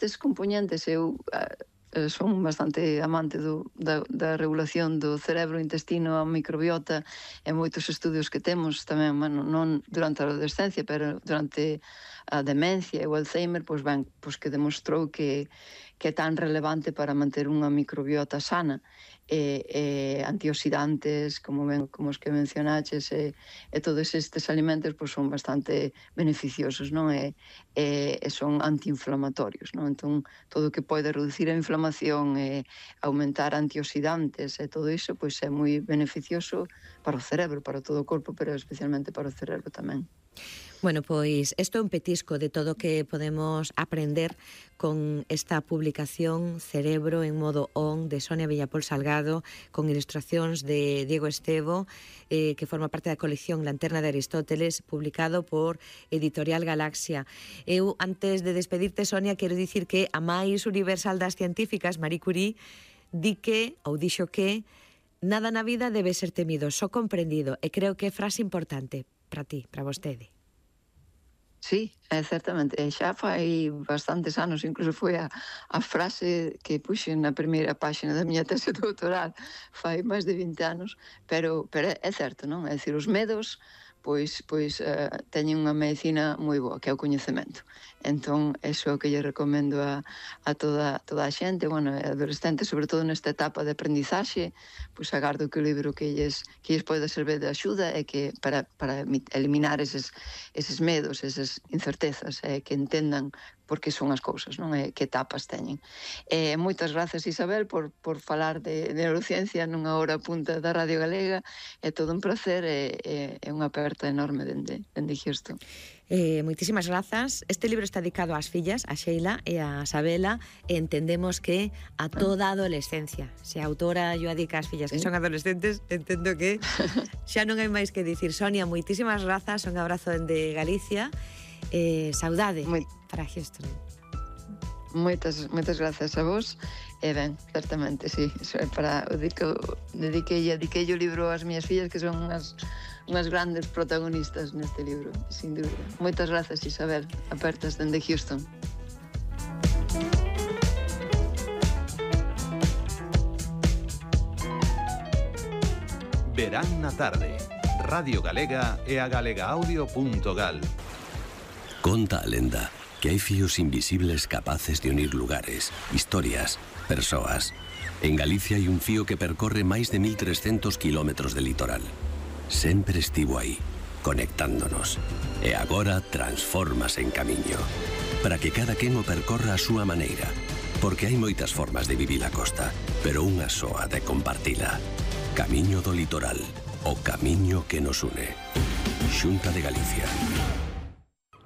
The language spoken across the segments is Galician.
estes componentes eu son bastante amante da regulación do cerebro, intestino, a microbiota e moitos estudios que temos tamén, bueno, non durante a adolescencia, pero durante a demencia e o Alzheimer, pois ben, pois que demostrou que é tan relevante para manter unha microbiota sana e antioxidantes, como os que mencionaches, e todos estes alimentos pois son bastante beneficiosos, non? E son antiinflamatorios, non? Entón, todo o que pode reducir a inflamación e aumentar antioxidantes e todo iso, pois é moi beneficioso para o cerebro, para todo o corpo, pero especialmente para o cerebro tamén. Bueno, pois isto é un petisco de todo o que podemos aprender con esta publicación Cerebro en modo on de Sonia Villapol Salgado, con ilustracións de Diego Estevo, que forma parte da colección Lanterna de Aristóteles, publicado por Editorial Galaxia. Eu, antes de despedirte, Sonia, quero dicir que a máis universal das científicas, Marie Curie, dixo que nada na vida debe ser temido, só comprendido, e creo que é frase importante para ti, para vostede. Sí, certamente, xa fai bastantes anos, incluso foi a frase que puxen na primeira páxina da miña tese doutoral, fai máis de 20 anos, pero é certo, non? É dicir, os medos pois teñen unha medicina moi boa, que é o coñecemento. Entón, eso é o que lle recomendo a toda a xente, bueno, adolescentes, sobre todo nesta etapa de aprendizaxe, pois agardo que o libro que lles pode servir de axuda é que para eliminar eses medos, esas incertezas, que entendan por que son as cousas, non? Que etapas teñen. Moitas grazas, Isabel, por falar de neurociencia nunha hora punta da Radio Galega. É todo un placer e unha aperta enorme dende Xesto. Moitísimas grazas. Este libro está dedicado ás fillas, a Sheila e a Sabela, e entendemos que a toda a adolescencia. Se a autora yo adica ás fillas que son adolescentes, entendo que xa non hai máis que dicir. Sonia, moitísimas grazas, un abrazo dende Galicia. Saudade para Xesto. Moitas grazas a vos. E ben, certamente, sí, dediquei o libro ás miñas fillas, que son unhas grandes protagonistas neste libro, sin dúbida. Moitas grazas, Isabel, apertas dende Houston. Verán na tarde, Radio Galega e a galegaaudio.gal. Conta a lenda que hai fíos invisibles capaces de unir lugares, historias, persoas. En Galicia hai un fío que percorre máis de 1300 kilómetros de litoral. Sempre estivo aí, conectándonos. E agora transfórmase en camiño. Para que cada quen o percorra a súa maneira. Porque hai moitas formas de vivir a costa, pero unha soa de compartila. Camiño do litoral, o camiño que nos une. Xunta de Galicia.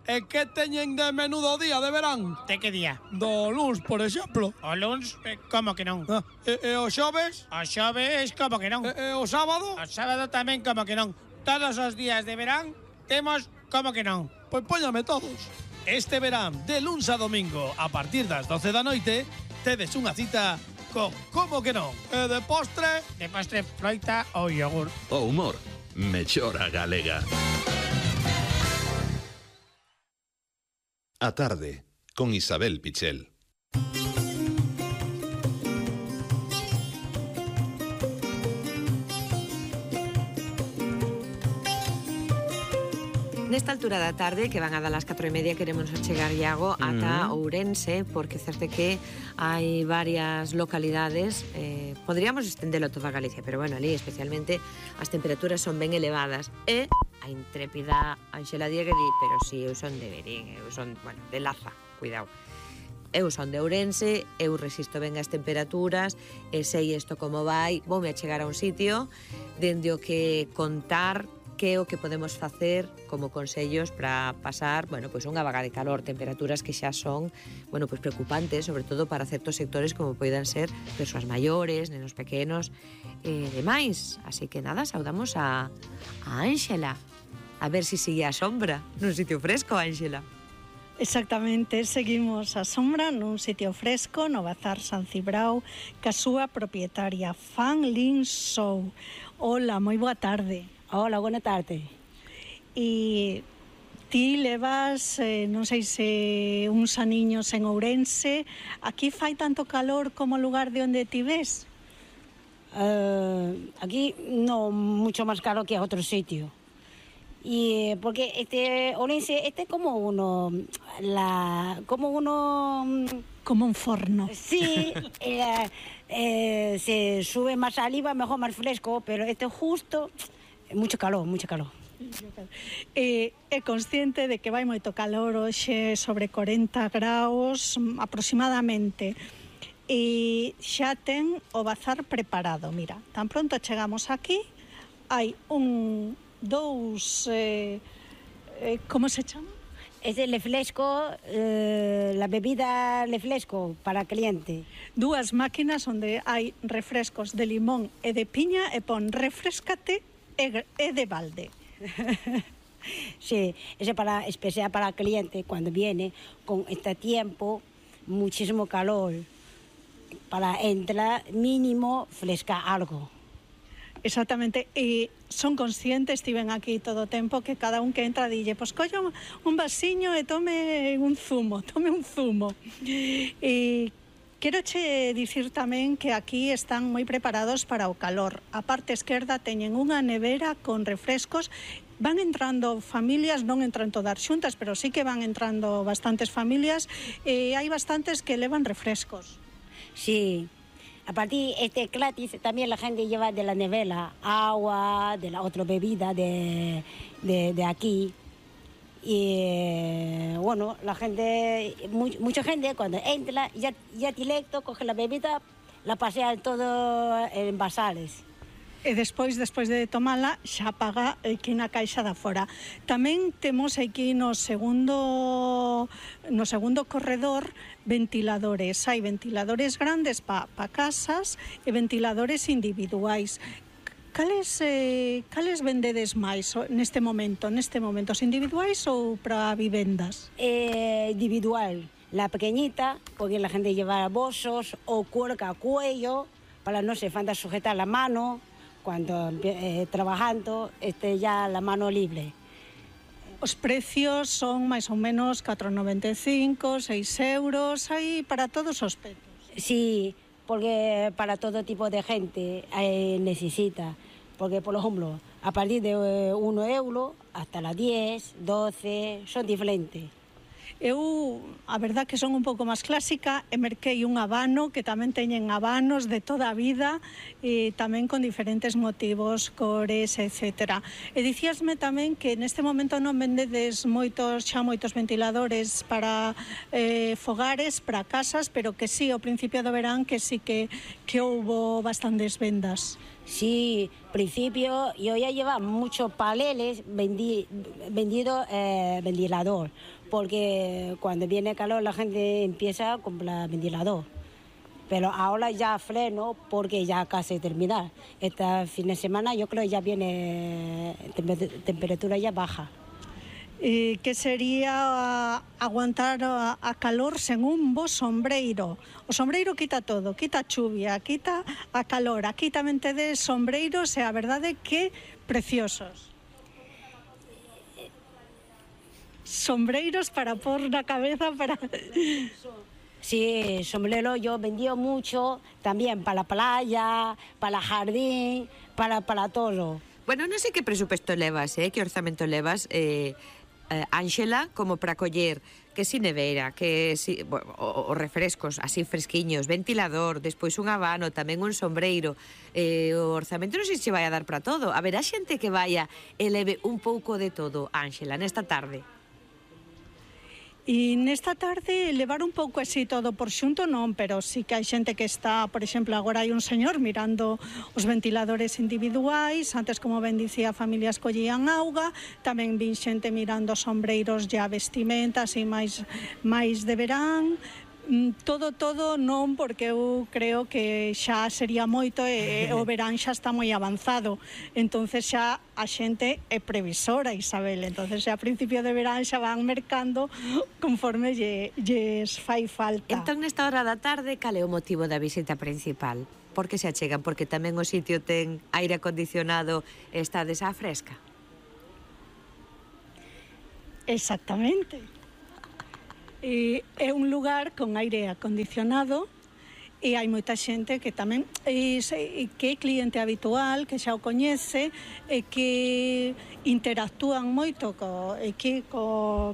E que teñen de menú do día de verán? De que día? Do luns, por exemplo. O luns? Como que non? E o xoves? O xoves, como que non? E o sábado? O sábado tamén, como que non? Todos os días de verán temos como que non? Pois póñame todos. Este verán, de luns a domingo, a partir das 12 da noite, tedes unha cita con como que non? E de postre? De postre, froita ou yogur. O humor, mellora galega. A tarde, con Isabel Pichel. Nesta altura da tarde, que van a dar as 4:30, queremos chegar, Iago, ata Ourense, porque certe que hai varias localidades, podríamos estendelo toda a Galicia, pero bueno, ali especialmente as temperaturas son ben elevadas, e a intrépida Ángela Diego di, pero si eu son de Verín, eu son, bueno, de Laza, cuidado. Eu son de Ourense, eu resisto ben as temperaturas, e sei isto como vai, voume a chegar a un sitio dende o que contar que é o que podemos facer como consellos para pasar, bueno, pois unha vaga de calor, temperaturas que xa son, bueno, pois preocupantes, sobre todo para certos sectores como poidan ser persoas maiores, nenos pequenos e demais. Así que nada, saudamos a Ángela. A ver si sigue a sombra nun sitio fresco, Ángela. Exactamente, seguimos a sombra nun sitio fresco no Bazar San Cibrao ca súa propietaria, Fan Lin Shou. Hola, moi boa tarde. Hola, buena tarde. E Ti levas, non sei se uns aniños en Ourense, aquí fai tanto calor como o lugar de onde ti ves? Aquí no, mucho más caro que a otro sitio. Y porque Ourense, como uno, como un forno. Sí, se sube más saliva, mejor más fresco, pero justo, mucho calor. É consciente de que vai moito calor hoxe, sobre 40 graus aproximadamente, e xa ten o bazar preparado. Mira, tan pronto chegamos aquí, hai dous, como se chama? Es el refresco, la bebida refresco para cliente. Dúas máquinas onde hai refrescos de limón e de piña e pon refrescate e de balde. Sí, es especial para el cliente cuando viene con este tiempo, muchísimo calor, para entrar mínimo fresca algo. Exactamente, e son conscientes, estiven aquí todo o tempo, que cada un que entra dille, pois collo un vasiño e tome un zumo. E quero che dicir tamén que aquí están moi preparados para o calor. A parte esquerda teñen unha nevera con refrescos. Van entrando familias, non entran todas xuntas, pero sí que van entrando bastantes familias, e hai bastantes que levan refrescos. Sí. A partir gratis también la gente lleva de la nevera agua, de la otra bebida de aquí. Y bueno, la gente, mucha gente cuando entra ya directo coge la bebida, la pasea en todo en vasares. E despois de tomala xa paga aquí na caixa da fora. Tamén temos aquí no segundo corredor ventiladores. Hai ventiladores grandes pa casas e ventiladores individuais. Cales vendedes máis neste momento? Os individuais ou para vivendas? Individual. La pequeñita, porque la gente lleva bolsos o cuerda a cuello para no se falta sujetar la mano. Cuando trabajando, ya la mano libre. Os precios son máis ou menos 4,95, 6 euros, hai para todos os petos. Sí, porque para todo tipo de gente necesita. Porque, por ejemplo, a partir de 1 euro hasta las 10, 12, son diferentes. Eu, a verdad que son un pouco máis clásica, e merquei un habano, que tamén teñen habanos de toda a vida, e tamén con diferentes motivos, cores, etc. E dicíasme tamén que neste momento non vendedes moitos ventiladores para fogares, para casas, pero que sí, ao principio do verán, que sí que houbo bastantes vendas. Sí, principio yo ya llevaba muchos paneles vendido ventilador, porque cuando viene calor la gente empieza a comprar ventilador. Pero ahora ya freno porque ya casi terminar. Este fin de semana yo creo ya viene temperatura ya baja. Que sería aguantar a calor sen un bo sombreiro. O sombreiro quita todo, quita a chuvia, quita a calor. Aquí tamén tedes sombreiros e a verdade que preciosos. Sombreiros para pôr na cabeza para... Sí, sombrero yo vendí mucho, también para la playa, para el jardín, para todo. Bueno, non sei que presupuesto levas, que orzamento levas, Ángela, como para coller que si nevera, que si os refrescos así fresquiños, ventilador, despois un habano, tamén un sombreiro, o orzamento non sei se vai a dar para todo. Haberá xente que vaya e leve un pouco de todo, Ángela, nesta tarde. E nesta tarde levar un pouco así todo por xunto non, pero sí que hai xente que está, por exemplo, agora hai un señor mirando os ventiladores individuais, antes, como ben dicía, familias collían auga, tamén vin xente mirando sombreiros e a vestimenta, así máis de verán. Todo non, porque eu creo que xa sería moito e o verán xa está moi avanzado, entonces xa a xente é previsora, Isabel, entonces xa a principio de verán xa van mercando conforme lles fai falta. Entón, nesta hora da tarde, cal é o motivo da visita principal? Por que se achegan? Porque tamén o sitio ten aire acondicionado e está desa fresca? Exactamente. É un lugar con aire acondicionado e hai moita xente que tamén que é cliente habitual, que xa o coñece e que interactúan moito co